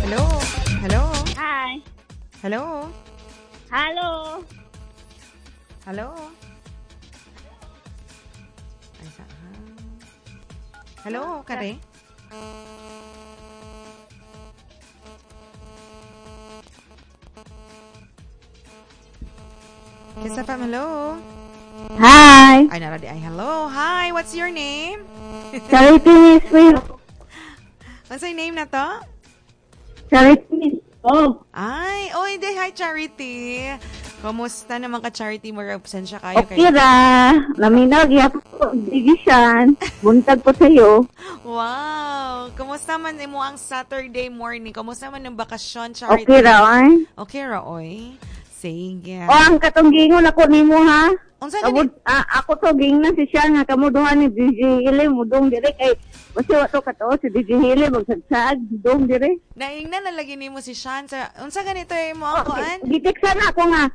Hello? Hello? Hi. Hello? Hello. Hello? Ay, sa Hello, kare? Kiss FM, hello? Hi. Ay, naradi. Ay, hello. Hi, what's your name? Charity Miss Will. What's your name na to? Charity Miss Oh. Ay, oy, di, hi, Charity. Kumusta naman ka, Charity? Mura, absensya kayo. Okay ra. Naminaw, gyapon ko, digisyan. Buntag po sa'yo. Wow. Kumusta man imo ang Saturday morning? Kumusta man ang bakasyon, Charity? Okay ra, oy. Okay ra, oy. Sige. O, ang katong gingon ako nimo ha. Unsa gani? Ako to gingnan si siya nga kamo duha ni DJ Hili mudong dire kay basta wa to katuo si DJ Hili magsagsag dong dire. Naingnan na lagi nimo si Sean sa unsa ganito imo ang kuan? Giteksan ako nga.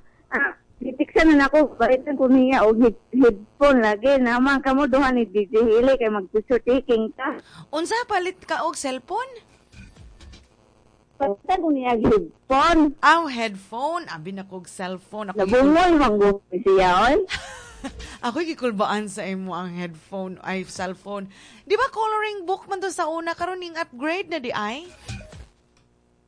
Giteksan na ako balitan ko niya og headphone lagi naman kamo duha ni DJ Hili kay mag-picture taking ta. Unsa palit ka og cellphone? Palitan ko niya headphone. Aw, headphone. Abi na kog cellphone. Ako Nabungol man gud siya oy. Ako gikulbaan sa imo ang headphone ay cellphone. Di ba coloring book man to sa una karon ning upgrade na di ay?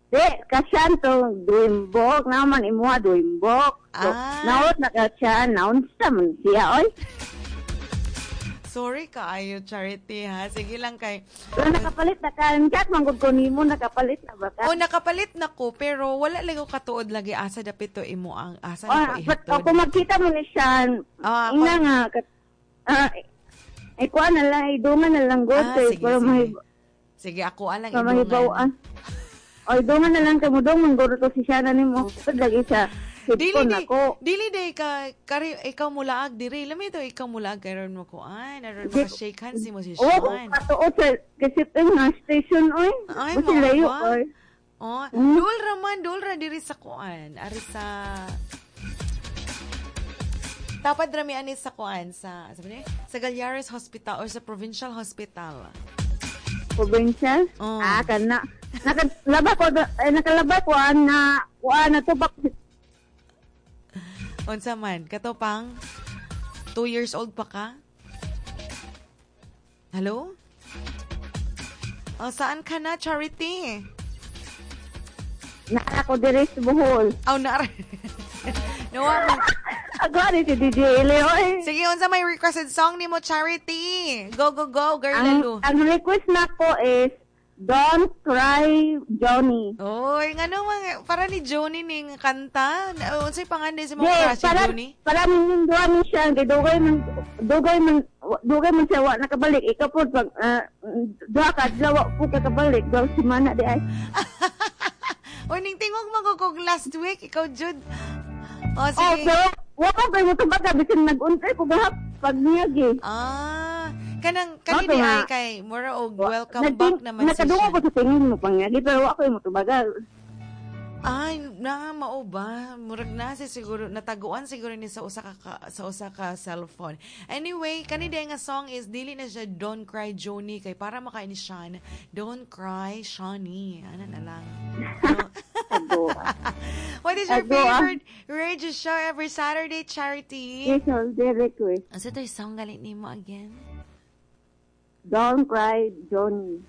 Di, kasyan to dream book naman imuha dream book. So, naot na kasyan, naunsa man siya oy. Sorry kaayo, Charity, ha. Sige lang kay. Pero nakapalit na ka. Chat man gud ko nimo nakapalit na ba ka? O nakapalit na ko pero wala lagi ko katuod lagi asa dapit to imo ang asa na ko but ihatod. ako magkita mo ni Sean. Ina nga ikuan na lang idungan na lang gud kay Sige, para sige. Sige, ako alang para idungan. mahibaw-an. O idungan na lang kamo dong man gud to si Sean nimo. Lagi sa Dili headphone di, ako. dili day ka kari ikaw mulaag diri. Lami to ikaw mulaag karon mo kuan. Aron maka shake hands mo si Oo, Sean. katuod sa kasi nga station oy. Ay, Basta mao layo ba? oy. Oh, dul ra man, dul ra diri sa kuan. Ari sa Tapad rami ani sa kuan sa sabi niya, sa Galyares Hospital or sa Provincial Hospital. Provincial? Oh. Ah, kana. Nakalaba ko nakalaba ko na kuan na tubak. Unsa man, kato pang 2 years old pa ka? Hello? Oh, saan ka na, Charity? Naa ko diri sa Bohol. Oh, naa. Nawa man. Ako ni si DJ Ili, oy. Sige, unsa may requested song nimo, Charity? Go, go, go, girl, lalo. Ang request nako is Don't Cry, Johnny. Oy, ngano mga para ni Johnny ning kanta? Unsay panganay sa mga Yes, crush si para, Johnny? para minyong duha ni siya, kay dugay man siya wa nakabalik. Ikaw po, pag, duha ka, adlaw, wa po kakabalik. Duha si Mana di ay. Oy, ning tingog magugog last week, ikaw jud. Oh, Oh, sige. pero, wa ko kayo mo tubaga, bisin nag-untay ko gahap pag niyagi. Ah, kanang kani Mato di nga. ay kay mura og welcome back naman si Nakadungo siya. ko sa tingin mo pangyagi, pero wa ko mo tubaga. Ay, na mao ba? Murag na si siguro nataguan siguro ni sa usa ka, sa usa ka cellphone. Anyway, kani di nga song is dili na siya Don't Cry Johnny kay para makain ni Sean. Don't Cry Shawnee. Ano na lang. No? What is your Ago, ah. favorite radio show every Saturday, Charity? Yes, all the request. Asa to'y song galit nimo again? Don't Cry Johnny.